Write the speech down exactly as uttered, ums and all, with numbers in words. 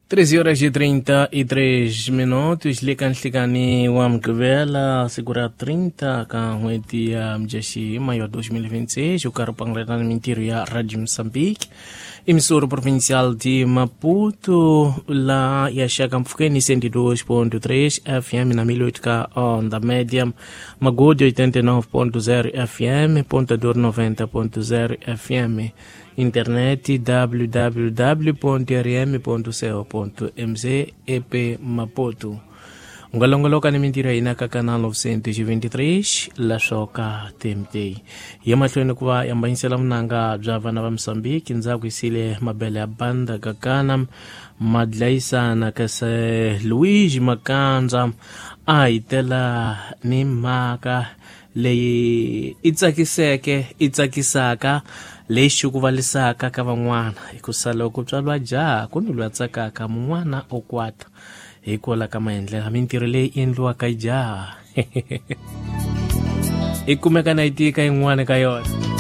treze horas e trinta e três minutos, le ka nhlikani wa Mugqivela, siku ra trinta ka n'hweti ya Mudyaxihi, mayo dois mil e vinte e seis, o karhi u pangulelana mintirho ya Radio Moçambique, emissora provincial de Maputo, lá ya xaka mpfhukeni cento e dois ponto três F M na mil e oito K onda média, Magude oitenta e nove ponto zero F M, Ponta Dor noventa ponto zero F M, internet w w w ponto r m ponto co ponto m z e p Maputo. Ungalongoloka ni mintirho ya hina ka canal novecentos e vinte e três la Xoka T M T. Ya mahlweni ku va yambanyisela vunanga bya vana va Mozambique, ndzhaku yisile mabele ya banda kakana madlayisana kasi Luigi Makanza a hi tela ni mhaka leyi i tsakiseke i tsakisaka leyi xukuvalisaka ka van'wana, hikusa loko tswalwa jaha ku ni loyi a tsakaka mun'wana o kwata hikwalaho ka maendlelo mintirho leyi endliwaka hi jaha i kumeka na yi tika yin'wana ka yona.